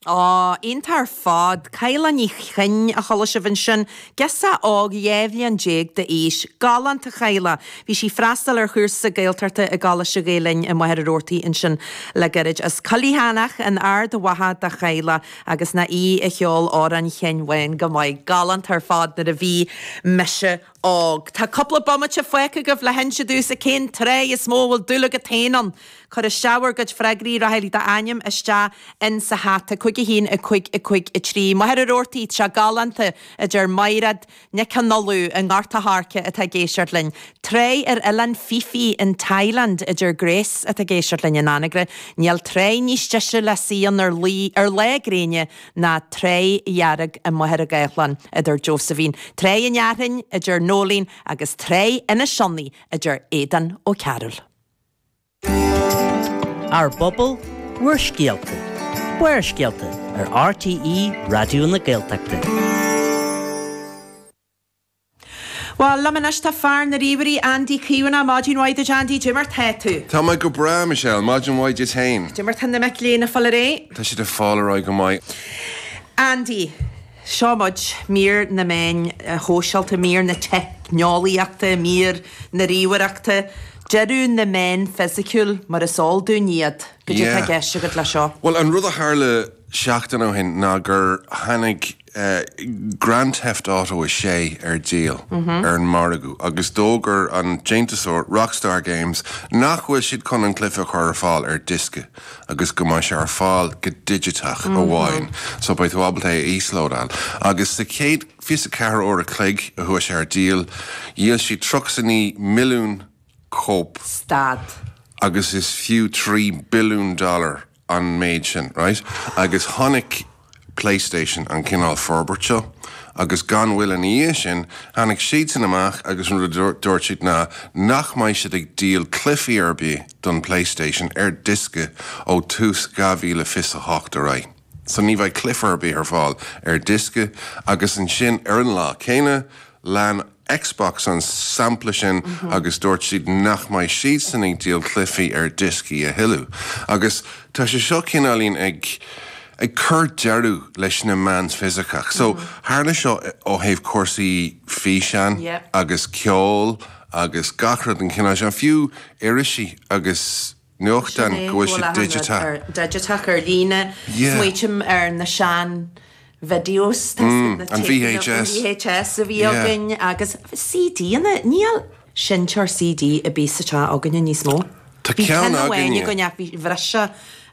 Á, iontach ar fad. Cadhla Ní Chuinn a chuala sibh ansin, girseach óg 12 bhliain d'aois. Galánta Cadhla. Bhí sí ag freastal ar chúrsa Gaeltachta i gColáiste Ghael Linn i Machaire Rabhartaigh ansin le gairid. As Coill Cheatharlach in Ard Mhacha do Chadhla agus nach í a cheol Amhrán Sheáin Bháin go maith. Galánta ar fad nuair a bhí mise óg. Tá cúpla bomaite fágtha agaibh le hinse domhsa cén tráigh is mó a bhfuil dúil agat féin ann. Cuir isteach bhur gcuid freagraí, rachaidh d'ainm isteach in sa hata. 5 1 5 5 3. Machaire Rabhartaigh, tá sé galánta, a deir Maighread Nic Con Uladh i nGort a' Choirce atá ag éisteacht linn. Tráigh ar Oileán Phi Phi in Thailand, a deir Grace atá ag éisteacht linn in Anagaire. Níl tráigh níos deise le suí ann ar ar lá gréine ná Tráigh Dhearg i Machaire Gathlán, a deir Josephine. Tráigh an Fhearthainn, a deir Noeleen, agus Tráigh Inis Sionnach, a deir Aodán Ó Cearúil. Ár bpobal, bhur scéalta. Barrscéalta ar RTÉ Raidió na Gaeltachta. Bhuel, liom anois tá fear na ríomhairí, Andy Caomhánach. Maidin mhaith duit, Andy. Dé mar tá tú? Tá mé go breá, Michelle. Maidin mhaith duit féin. Dé mar tá na mic léinn ag fáil ar aghaidh? Tá siad ag fáil ar aghaidh go maith. Andy, seo muid, mír na meáin shóisialta, mír na teicneolaíochta, mír na ríomhaireachta. Deireadh na meán fisiciúil mar is eol dúinn iad. Goidé atá i gceist agat le seo? Bhuel, an rud a tharla seachtain ó shin ná gur tháinig Grand Theft Auto 6 ar díol ar an margadh agus d'fhógair an déantúsóir, Rockstar Games, nach bhfuil siad chun an cluiche a chur ar fáil ar diosca agus go mbeidh sé ar fáil go digiteach amháin. So beidh tú ábalta é a íoslódáil. Agus sa chéad 24 uair a chloig a chuaigh sé ar díol, dhíol siad 39 milliún cóip. Stad. Agus is fiú 3 billiún dollar an méid sin, right? Agus chonaic PlayStation an cineál forbairt seo agus gan mhoill ina dhiaidh sin, tháinig siadsan amach agus an rud a dúirt siad ná nach mbeidh siad ag díol cluichí ar bith don PlayStation ar diosca ó tús 2028 ar aghaidh. So ní bheidh cluiche ar bith ar fáil ar diosca agus ansin ar an lá céanna, Lean Xbox an sampla sin agus dúirt siad nach mbeidh siadsan ag díol cluichí ar dioscaí a thuilleadh. Agus tá sé seo cineáilín ag ag cur deireadh leis na meáin fisiceach. So tharla seo ó thaobh cúrsaí físeáin agus ceol agus gach rud den chineál sin, fiú irisí agus nuachtáin go bhfuil siad digiteach. Digiteach ar líne. Smaoitím ar na sean videos, tá na an VHS. VHS a bhí againn agus CD-anna, níl seinnteoir CD ar bith sa teach againne níos mó. Tá Bhí ceann ceann amháin againne. againn ach bhí bhris sé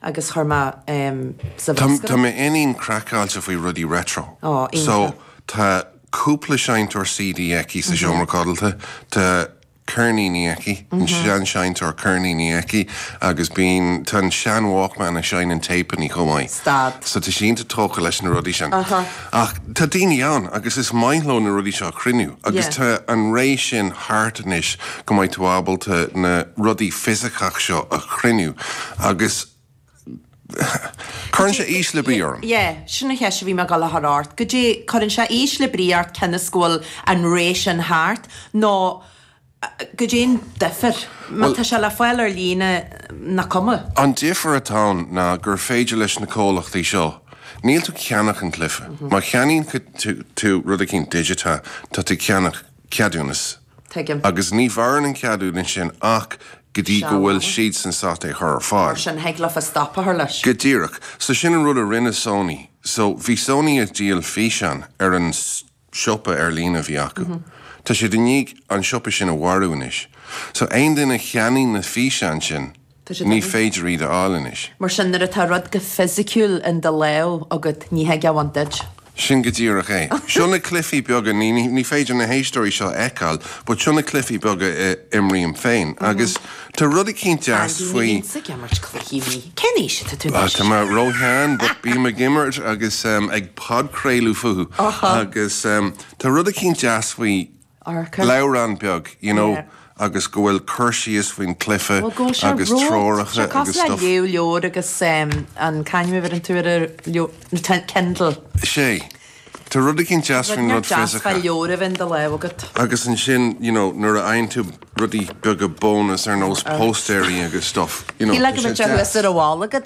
agus chuir mé sa bhruscar Tá é. m'iníon craiceáilte faoi rudaí retro. Ó, iontach. So tá cúpla seinnteoir CD aici sa seomra codlata, tá ceirníní aici, an sean-seinnteoir ceirníní aici agus bíonn, tá an sean-Walkman a seinneann téipeanna chomh maith. Stad. So tá sí iontach tógtha leis na rudaí sin. Ach tá daoine ann agus is maith leo na rudaí seo a chruinniú agus tá an ré sin thart anois go mbeidh tú ábalta na rudaí fisiceach seo a chruinniú agus cuireann sé ísle brí orm. Yeah, sin an cheist a bhí mé ag dul a chur ort. Goidé, cuireann sé ísle brí ort cionn is go bhfuil an ré sin thart nó goidé an difear? Má tá sé le fáil ar líne, nach cuma? An difear atá ann ná gur féidir leis na comhlachtaí seo, níl tú ag ceannach an cluiche. Má cheannaíonn tú rud eicínt digiteach, tá tú ag ceannach ceadúnas. Tuigim. Agus ní mhaireann an ceadúnas sin ach go dtí go bhfuil siadsan sásta é a chur ar fáil. Mar sin, thig leofa stop a chur leis. Go díreach. So sin an rud a rinne Sony. So bhí Sony ag díol físeán ar an siopa ar líne a bhí acu. Tá siad i ndiaidh an siopa sin a mharú anois. So aon duine a cheannaigh na físeáin sin, Ní féidir iad a fháil anois. Mar sin, nuair atá rud go fisiciúil in do lámh agat, ní thig é a bhaint duit. Sin go díreach é. Seo na cluichí beaga, ní féidir na héisteoirí seo a fheiceáil, but seo na cluichí beaga a imrím féin. Agus tá rud eicínt deas Andy, ní faoi. bhímse ag imirt cluichí mí. Cén aois atá tú anois? Tá mé róshean, but bím ag imirt agus ag podchraoladh fúthu. Agus tá rud eicínt deas faoi leabhrán beag, you know, agus go bhfuil cur síos faoin cluiche agus treoracha agus stuff. Cosúil le léamh leabhar agus an c'ainm a bheireann tú ar an Kindle. Sé. Tá rud eicínt deas faoin rud fisiceach. Deas leabhar a bheith in do lámh agat. Agus ansin, you know, nuair a fhaigheann tú rudaí beaga bónus ar nós póstaeirí agus stuff, you know, tá sé deas. Shílfeá go mbeadh sé thuas ar an bhalla agat.